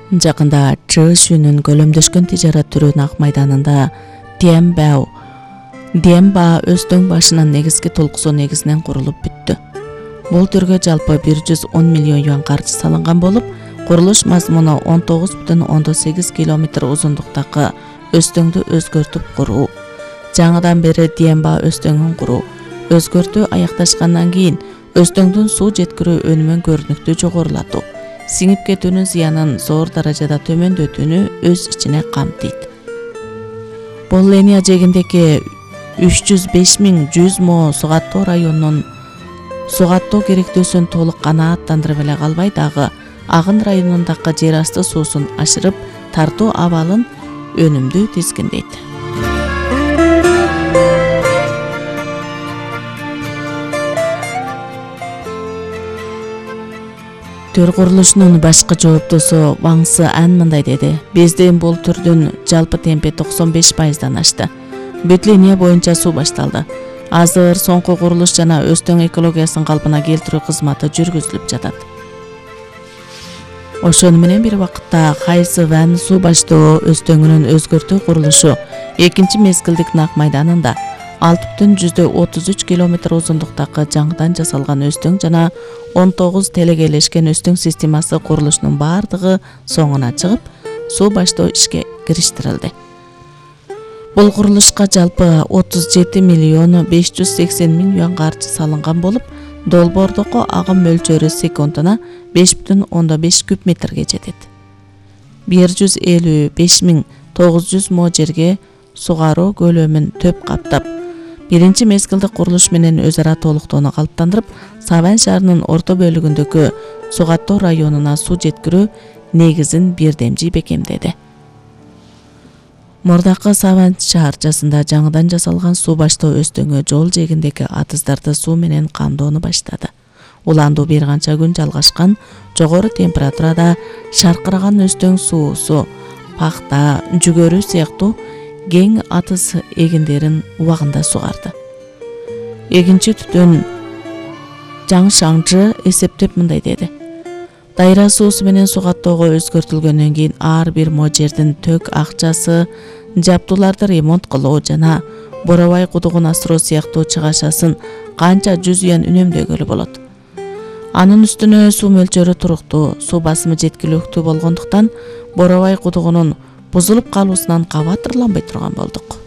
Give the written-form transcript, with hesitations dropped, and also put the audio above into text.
Жакында Чжэшүнүн көлөмдөшкөн тижарат түрү Ак майданында Диэнба Өзтөң башынын негизги толкусу негизинен курулуп бүттү. Бул түргө жалпы 110 миллион юан каржы салынган болуп, курулуш мазмуну 19,8 километр узундуктагы Өзтөңдү өзгөртүп куруу. Жаңыдан бери Диэнба Өзтөңүн куруу. Өзгөртүү аякташкандан кийин Өзтөңдүн суу жеткирүү өнүмүн көрүнүктүү жогорулатуу, сиңип кетүүнүн зыянын зор даражада төмөндөтүүнү өз ичине камтыйт. Болления жээгиндеги 305.100 мо Сугаттоо районунун сугаттоо керектөөсүн толук канааттандырып эле калбай дагы Агын районундагы жер асты суусун ашырып тартуу абалын өнүмдүү тизгиндейт. Төр курулушунун башкы жооптосу Ваң Сы Ан мындай деди: Биздин бул түрдүн жалпы темпи 95%дан ашты. Бүт линия боюнча суу башталды. Азыр соңку курулуш жана Өзтөң экологиясын калпына келтирүү кызматы жүргүзүлүп жатат. Ошону менен бир убакытта Хайсы Ван суу баштоо Өзтөңүнүн өзгөртүү курулушу экинчи мезгилдик Ак майданында 6,33 километр узундуктагы жаңыдан жасалган Өзтөң жана 19 телегейлешкен Өзтөң системасы курулушунун бардыгы соңуна чыгып, суу баштоо ишке кириштирилди. Бул курулушка жалпы 37 миллион 580 миң юан каржы салынган болуп, долбоордогу агым мөлчөрү секундуна 5,5 куб метрге жетет. 155.900 мо жерге сугаруу көлөмүн төп каптап, биринчи мезгилдик курулуш менен өз ара толуктоону калыптандырып, Саван шаарынын орто бөлүгүндөгү Сугаттоо районуна суу жеткирүү негизин бирдемжи бекемдеди. Мурдакы Саван шаарчасында жаңыдан жасалган суу баштоо Өзтөңү жол жээгиндеги атыздарды суу менен камдоону баштады. Уландуу бир канча күн жалгашкан, жогору температурада шаркыраган Өзтөң суусу пахта, жүгөрү сыяктуу кең атыз эгиндерин убагында сугарды. Эгинчи түтүн Жаң Шаңчы эсептеп мындай деди: Дайра суусу менен сугаттоого өзгөртүлгөндөн кийин ар бир мо жердин төк акчасы, жаптууларды ремонт кылуу жана Боробай кудугун асыруу сыяктуу чыгашасын канча 100 юан үнөмдөгөлү болот. Анын үстүнө суу мөлчөрү туруктуу, суу басымы жеткиликтүү болгондуктан Боробай кудугунун бузулуп калуусунан кабатырланбай турган болдук.